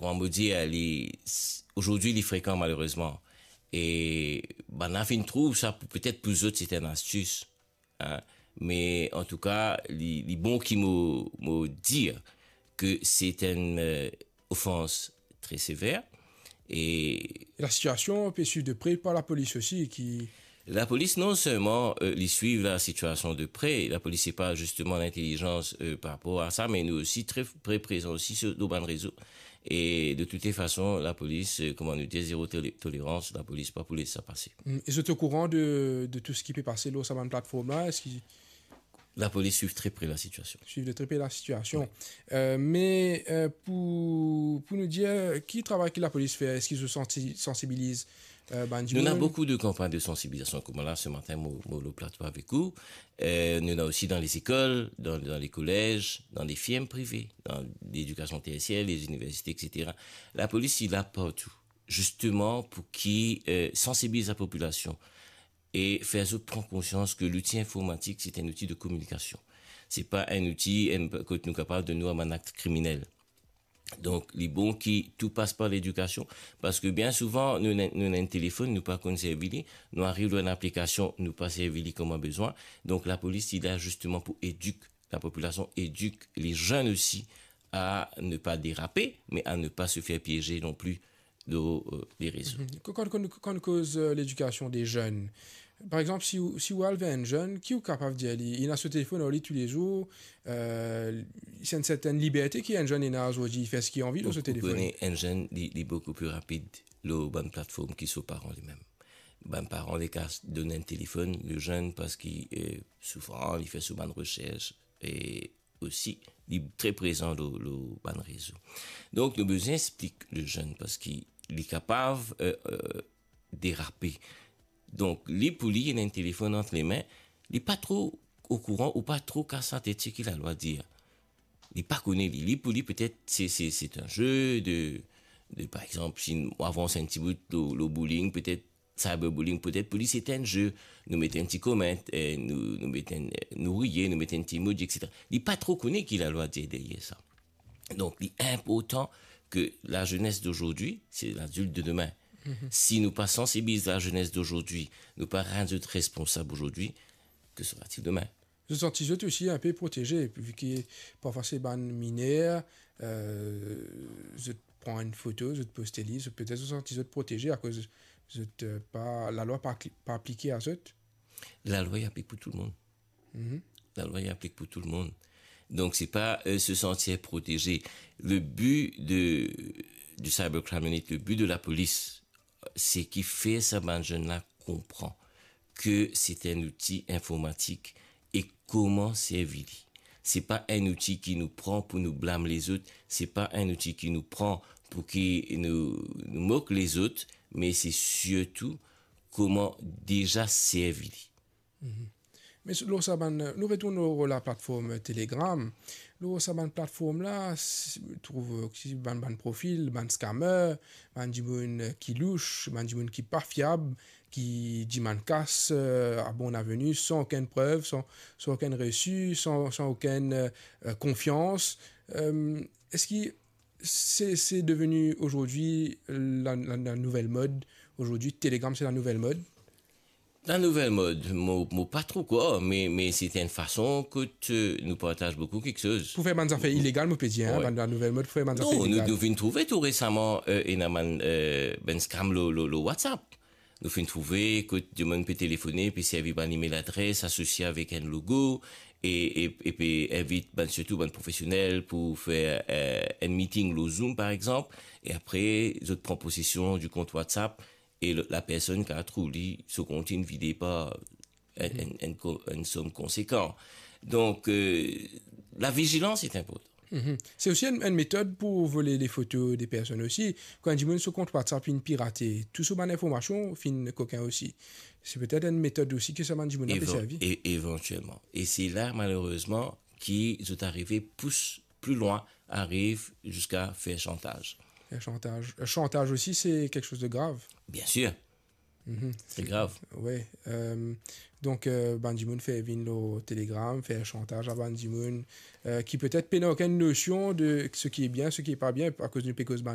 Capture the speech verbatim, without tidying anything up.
kouma mo dir, li, s-, azordi li frekan malerezman. E bann la finn trouv sa pou, petet pou zot se enn astis, hein. Me antouka, li, li bon ki mo, mo dir ke se enn, euh, ofans tre sever. E lasitiasion pe swiv de pre par lapolis osi, ki... Lapolis, non selman, euh, li swiv lasitiasion de pre, lapolis se pa zisteman lintelizans, euh, par rapor a sa, me nou osi tre pre prezan osi sir, lor bann rezo. E de toute fason, lapolis, euh, kouma nou dir, zero tole-, tolerans, lapolis pa pou les sa pase. Mm, e zot okouran de, de tou seki pe pase lor sa bann platform la? Eski... Lapolis swiv tre pre lasitiasion. Swiv de tre pre lasitiasion. Wi. Euh, me, euh, pou, pou nou dir, ki travay ki lapolis fer? Eski zot sansi-, sansibiliz, euh, bann dimoun? Nou ena boukou de kanpagn de sansibilizasion, kouma la, se matin, mo, mo lor plato avek ou. Euh, nou ena osi dan lezekol, dan, dan lekolez, dan lefirm prive, dan ledikasion tersyer, leziniversite, et cetera. Lapolis, li la partou, zisteman pou ki, euh, sansibiliz lapopilasion e fer zot pran konsians ke louti informatik, se enn outi de kominikasion. Se pa enn outi, enn, kot nou kapav donn nou a bann akt kriminel. Donk, li bon ki tou pas par ledikasion, parski bien souvan, nou ena, nou ena enn telefonn, nou pa konn servi li, nou ariv lor enn aplikasion, nou pa servi li kouma bizin. Donk, lapolis, li la zisteman pou edik lapopilasion, edik lezenn osi a ne pas déraper, mais à ne pas se faire piéger non plus de, euh, les réseaux. Mhm. Kan, kan, kan, kan nou koz, euh, ledikasion de zenn, par exanp, si ou, si ou al ver enn zenn, ki ou kapav dir li? Li ena so telefonn ar li toulezour, euh, se enn sertenn liberte ki enn zenn ena azordi, li fer seki li anvi lor so telefonn. Ou, ou kone, enn zenn, li, li boukou pli rapid lor bann platform ki so paran limem. Bann paran, li kapav donn enn telefonn, lezenn, parski, euh, souvan, li fer so bann resers, e osi, li tre prezan lor, lor bann rezo. Donk, nou bizin explik lezenn, parski li kapav, euh, euh, derape. Donk, li, pou li, li ena enn telefonn ant lame, li pa tro okouran ou pa tro kas latet seki lalwa dir. Li pa kone li. Li, pou li, petet, se, se, se enn ze de, de, par exanp, si nou avans enn ti bout lor, lor bullying, petet cyberbullying, petet pou li se enn ze, nou met enn ti comment, eh, nou, nou met enn, nou riye, nou met enn ti emoji, et cetera. Li pa tro kone ki lalwa dir deryer sa. Donk, li inportan ke lazenes dozordi, se lazilt de demin. Mhm. Si nou pa sansibiliz lazenes dozordi, nou pa rann zot responsab ozordi, que sera-t-il demain? Zot santi zot osi inpe proteze, vi ki parfwa se bann miner, euh, zot pran enn foto, zot poste li, zot, petet zot santi zot proteze akoz zot, euh, pa, lalwa pa apli-, pa aplike a zot? Lalwa, li aplik pou tou lemonn. Mhm. Lalwa, li aplik pou tou lemonn. Donk, se pa, euh, se santir proteze. Le bi de, de Cybercrime Unit, le bi de lapolis, se ki fer sa bann zenn la konpran ke se enn outi informatik e kouma servi li. Se pa enn outi ki nou pran pou nou blam lezot, se pa enn outi ki nou pran pou ki nou, nou mok lezot, me se sirtou kouma deza servi li. Mhm. Me s-, lor sa bann, nou retourn lor laplatform Telegram. Lor sa bann platform la, s-, trouv osi bann, bann profil, bann scammer, bann dimoun ki louch, bann dimoun ki pa fiab, ki dimann kas, euh, à bon avenir, san okenn prev, san, san okenn resi, san, san okenn, euh, konfians. Euh, eski se, se deveni azordi la, la, la nouvel mod. Azordi, Telegram, se la nouvel mod. La nouvel mod, mo, mo pa tro krwar, me, me se enn fason kot, euh, nou partaz boukou kiksoz. Pou fer bann zafer ilegal, mo pe dir, hein, wi, bann la nouvel mod pou fer bann zafer ilegal. Non, nou, nou vinn trouve tou resaman, euh, ena bann, euh, bann scam lor, lor, lor WhatsApp. Nou finn trouve kot dimoun pe telefone, pe servi bann email adres asosie avek enn logo, e, e, e pe invit bann, sirtou bann profesionel pou fer, euh, enn meeting lor Zoom, par exanp, e apre, zot pran posesion di kont WhatsApp, e le, lapersonn kapav trouv li so kont inn vide par enn, enn, enn ko-, enn som konsekan. Donk, euh, lavizilans li inportan. Mhm. Se osi enn, enn metod pou vole lefoto de personn osi. Kan enn dimoun so kont WhatsApp inn pirate, tou so bann informasion finn kokin osi. Se petet enn metod osi ki sa bann dimoun la pe servi. Evan-, e-, evantielman. E se la, malerezman, ki zot arive pous pli lwin, ariv ziska fer shantaz. Fer shantaz. Euh, shantaz osi, se kiksoz de grav. Bien sir. Mhm. Se grav. Wi. Euh, donk, euh, bann dimoun fer vinn lor Telegram, fer shantaz a bann dimoun, euh, ki petet pena okenn nosion de seki bien, seki pa bien, akoz nou pe koz bann